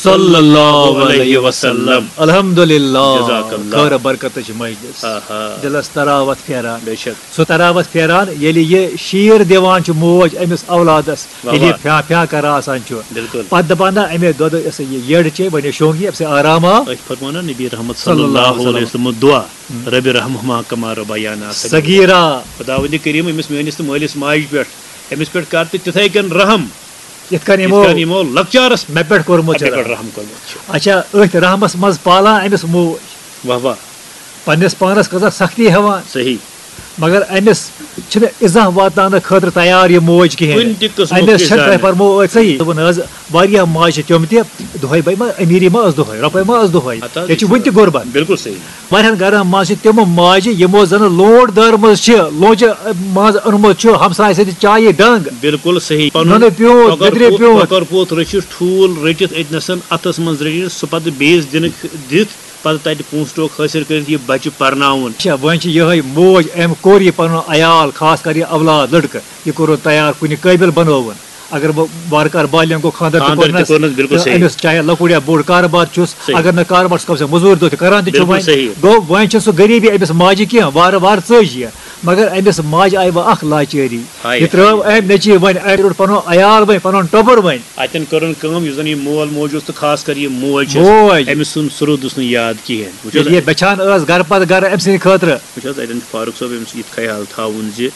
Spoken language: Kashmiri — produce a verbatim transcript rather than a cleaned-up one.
صلی اللہ علیہ وسلم۔ الحمدللہ۔ جزاک اللہ۔ خٲر برکتٕچ مجلس۔ آہا۔ دِلس تراوت پھیران۔ بے شک۔ سُہ تراوت پھیران، ییٚلہِ یہِ شیٖر دِوان چھُ موج أمِس اولادس، واہ ییٚلہِ یہِ واہ۔ پھیٛا پھیٛا کران آسان چھُ، بِلکُل۔ پتہٕ دپان، نہ، أمے دۄدٕ یۄس یہِ یٔڈ چے، وۄنۍ شۄنٛگ یہِ، أمۍ سٕے آرام آو۔ أسۍ فرماوان نبی رحمت صلی صلی اللہ اللہ علیہ علیہ وسلم دعا، رب رحمہما کما ربیانا صغیرا۔ صغیرا۔ خداوند کریم، أمِس میٲنِس تہٕ مٲلِس ماجہِ پٮ۪ٹھ، أمِس پٮ۪ٹھ کر تہٕ تِتھے کٔنۍ رحم، یِتھ کٔنۍ یِتھ یِمو کٔنۍ یِمو لۄکچارس مےٚ پٮ۪ٹھ کوٚرمُت چھُ مےٚ رحم۔ پٮ۪ٹھ رحم کوٚرمُت چھُ۔ اچھا، أتھۍ رحمس منٛز پالان أمِس موج، واہ واہ۔ پننِس پانس کۭژاہ سختی ہٮ۪وان، صحیح۔ مگر أمِس چھِنہٕ اِزاہ واتناونہٕ خٲطرٕ تیار یہِ موج کِہیٖنۍ۔ کُنہِ تہِ قٕسمُک أمِس تہِ چھَنہٕ زانہِ۔ تۄہہِ فرمو أتھۍ صحیح۔ دوٚپُن حظ، واریاہ ماجہِ چھِ تِم تہِ، دۄہے بے ما أمیٖری ما ٲس دۄہے، رۄپے ما ٲس دۄہے، ہتہٕ حظ، ییٚتہِ چھِ یہِ وُنہِ چھُ تہِ غُربت۔ بِلکُل صحیح۔ واریاہن گرن منٛز چھِ تِم ماجہِ، یِمو زن لونڈ دٲرمٕژ چھِ، لونچہِ منٛز أنمُت چھُ ہمسایہِ سٕنٛدِ چایہِ ڈنگ۔ بِلکُل صحیح۔ پنُن نُنہٕ پیوٗنٛت، کۄکر لیٚدرِ پوٗت، پیوٗنٛت۔ کۄکر پوٗت رٔچھِتھ، ٹھوٗل رٔٹِتھ أتۍ نَسَن اَتھَس منٛز رٔٹِتھ، سُہ پَتہٕ بیٚیِس دِنہٕ دِتھ، پَتہٕ تَتہِ پونٛسہٕ ٹوکھ حٲصِل کٔرِتھ یہِ بَچہِ پَرناوُن۔ اچھا، وۄنۍ چھِ یِہوٚے موج، أمۍ کوٚر یہِ پَنُن عیال، خاص کر یہِ اولاد لٔڑکہٕ، یہِ کوٚرُن تیار، کُنہِ قٲبِل بَنووُن۔ اگر بہٕ وارٕ کارٕ بالینگ گوٚو، خانٛدر تہِ خانٛدر تہِ کوٚرنَس، کوٚرنَس، بِلکُل تہٕ صحیح۔ أمِس چاہے لۄکُٹ یا بوٚڑ کارٕبار چھُس، صحیح۔ اگر نہٕ کارٕبار چھُس، کَم سے کَم مٔزوٗرۍ دۄہ تہِ کَران تہِ چھُ بِلکُل وۄنۍ۔ صحیح۔ گوٚو، وۄنۍ چھِ سُہ غریٖبی أمِس ماجہِ کینٛہہ، وارٕ وارٕ ژٔج یہِ۔ مگر أمِس ماجہِ آیہِ وۄنۍ اَکھ لاچٲری۔ ہاے، یہِ ترٛٲو ہاے۔ أمۍ نیٚچی وۄنۍ، أمۍ روٚٹ پَنُن عیال وۄنۍ، پَنُن ٹۄبُر وۄنۍ۔ اَتٮ۪ن کٔرٕن کٲم، یُس زَن یہِ مول موج اوس تہٕ خاص کر یہِ موج چھَس، موج۔ أمِس سُنٛد سُرُد اوس نہٕ یاد کِہیٖنۍ۔ وٕچھ حظ، ییٚلہِ یہِ بَچھان ٲس گَرٕ پَتہٕ گَرٕ أمۍ سٕنٛدِ خٲطرٕ۔ وٕچھ حظ، اَتٮ۪ن چھُ فاروق صٲب أمِس یہِ تہِ خیال تھاوُن زِ